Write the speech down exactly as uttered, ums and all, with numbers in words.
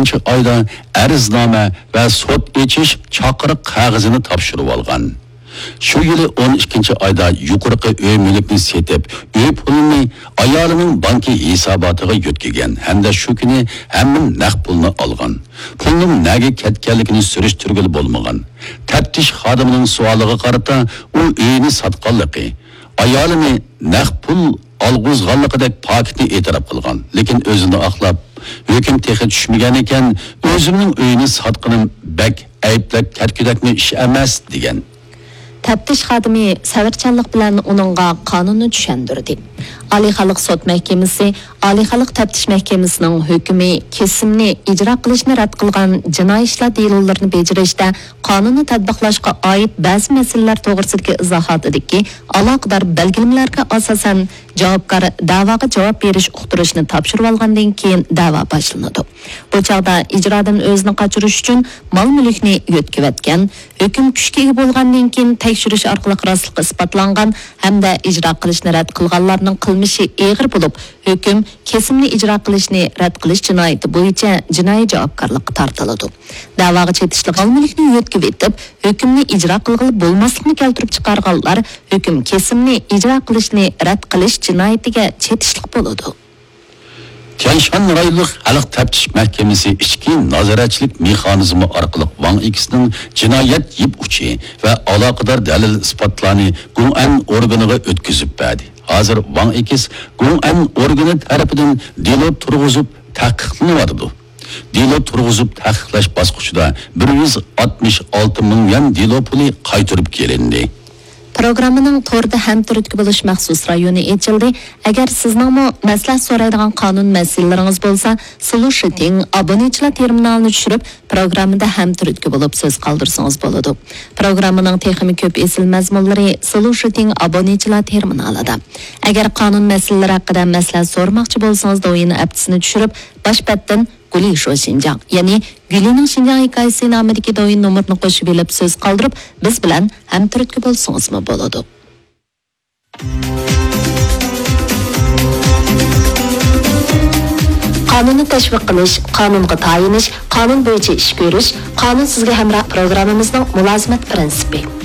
ئىككىنچى ئايدا ئەرزنامە ۋە سوت ئېچىش چاقىرىق قەغىزىنى تاپشۇرۇۋالغان. شۇ يىلى ئون ئىككىنچى ئايدا يۇقىرىقى ئۆي مۈلۈكنى سېتىپ، ئۆي پۇلىنى ئايالىنىڭ بانكا ھېساباتىغا يۆتكىگەن ھەمدە شۇ كۈنى ھەممە نەق پۇلنى ئالغان. پۇلنىڭ نەگە كەتكەنلىكىنى سۈرۈشتۈرگىلى بولمىغان. تەپتىش خادىمىنىڭ سوئالىغا قارىتا، ئۇ ئۆيىنى ساتقانلىقى، ئايالىنى نەق پۇل ئالغۇزغانلىقىدەك پاكىتنى ئېتىراپ قىلغان، لېكىن ئۆزىنى ئاقلاپ، ھۆكۈم تېخى چۈشمىگەن ئىكەن، ئۆزۈمنىڭ ئۆيىنى ساتقىنىم بەك ئەيىبلەپ كەتكۈدەكمۇ ئىش ئەمەس، دېگەن. تەپتىش خادىمى سەۋرچانلىق بىلەن ئۇنىڭغا قانۇننى چۈشەندۈردى. ئالىي خەلق سوت مەھكىمىسى، ئالىي خەلق تەپتىش مەھكىمىسىنىڭ ھۆكمى كېسىمنى ئىجرا قىلىشنى رەت قىلغان جىنايى ئىشلار دېلولىرىنى بېجىرىشتە قانۇننى تەتبىقلاشقا ئائىت بەزى مەسىلىلەر توغرىسىدىكى ئىزاھاتىدىكى ئالاقىدار بەلگىلىمىلەرگە ئاساسەن، جاۋابكار دەۋاغا جاۋاب بېرىش ئۇقتۇرۇشنى تاپشۇرۇۋالغاندىن كېيىن دەۋا باشلىنىدۇ. بۇ چاغدا ئىجرادىن ئۆزىنى قاچۇرۇش ئۈچۈن مال-مۈلۈكنى يۆتكىۋەتكەن، ھۆكۈم كۈچكە ئىگە بولغاندىن كېيىن تەكشۈرۈش ئارقىلىق راستلىقى ئىسپاتلانغان ھەمدە ئىجرا قىلىشنى رەت قىلغانلارنىڭ قىلمىشى ئېغىر بولۇپ، ھۆكۈم كېسىمنى ئىجرا قىلىشنى رەت قىلىش جىنايىتى بويىچە جىنايى جاۋابكارلىققا تارتىلىدۇ. دەۋاغا چېتىشلىق مال-مۈلۈكنى يۆتكىۋېتىپ، ھۆكۈمنى ئىجرا قىلغىلى بولماسلىقنى كەلتۈرۈپ چىقارغانلار ھۆكۈم كېسىمنى ئىجرا قىلىشنى رەت قىلىش جىنايىتىگە چېتىشلىق بولىدۇ. تيەنشان رايونلۇق خەلق تەپتىش مەھكىمىسى ئىچكى نازارەتچىلىك مېخانىزمى ئارقىلىق ۋاڭ ئېكسنىڭ جىنايەت يىپ ئۇچى ۋە ئالاقىدار دەلىل-ئىسپاتلارنى گۇڭئەن ئورگىنىغا ئۆتكۈزۈپ بەردى. ھازىر ۋاڭ ئېكس گۇڭئەن ئورگىنى تەرىپىدىن دېلو تۇرغۇزۇپ تەھقىقلىنىۋاتىدۇ. دېلو تۇرغۇزۇپ تەھقىقلەش باسقۇچىدا بىر يۈز ئاتمىش ئالتە مىڭ يۈەن دېلو پۇلى قايتۇرۇپ كېلىندى. پروگراممىنىڭ توردا ھەمتۈرتكە بولۇش مەخسۇس رايونى ئېچىلدى. ئەگەر سىزنىڭمۇ مەسلىھەت سورايدىغان قانۇن مەسىلىلىرىڭىز بولسا، سولۇشىتىڭ ئابۇنىچىلار تېرمىنالىنى چۈشۈرۈپ، پروگراممىدا ھەمتۈرتكە بولۇپ سۆز قالدۇرسىڭىز بولىدۇ. پروگراممىنىڭ تېخىمۇ كۆپ ئېسىل مەزمۇنلىرى سولۇشىتىڭ ئابۇنىچىلار تېرمىنالىدا. ئەگەر قانۇن مەسىلىلىرى ھەققىدە مەسلىھەت سورىماقچى بولسىڭىز، دوۋيىن ئەپتىسىنى چۈشۈرۈپ، باش بەتتىن گۇلى شو شىنجاڭ، يەنى گۈلىنىڭ شىنجاڭ ھېكايىسى نامىدىكى دوۋيىن نومۇرىنى قوشۇپ ئېلىپ سۆز قالدۇرۇپ، بىز بىلەن ھەمتۈرتكە بولسىڭىزمۇ بولىدۇ. قانۇننى تەشۋىق قىلىش، قانۇنغا تايىنىش، قانۇن بويىچە ئىش كۆرۈش، قانۇن سىزگە ھەمراھ پروگراممىمىزنىڭ مۇلازىمەت پىرىنسىپى.